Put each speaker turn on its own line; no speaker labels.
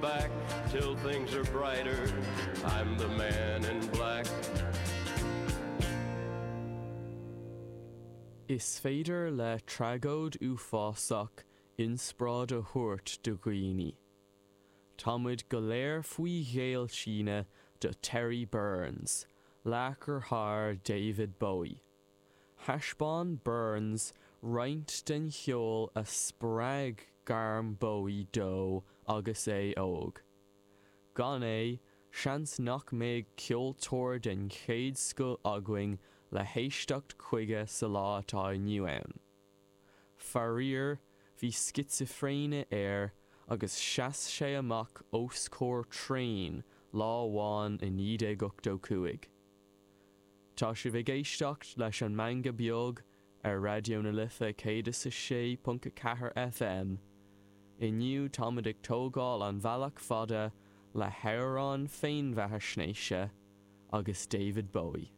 Back till things are brighter, I'm the man in black.
Is féidir le tragóid uafásach inspioráid a thabhairt do dhaoine. Tá muid go léir faoi ghéillsine do Terry Burns, laoch thar David Bowie. Thaispeáin Burns roinnt den cheol a spreag gairm Bowie dó agus é óg. Gan é, seans nach mbeadh ceoltóir den chéad scoth againn le héisteacht chuige sa lá atá inniu ann. Faraor, bhí scitsifréine air agus sheas sé amach os comhair traein lá amháin i 1985. Tá sibh ag éisteacht leis an Meangadh Beag ar Raidió na Life 106.4 FM. Inniu táimid ag tógáil an bhealach fada le hamhráin féinbheathaisnéise agus David Bowie.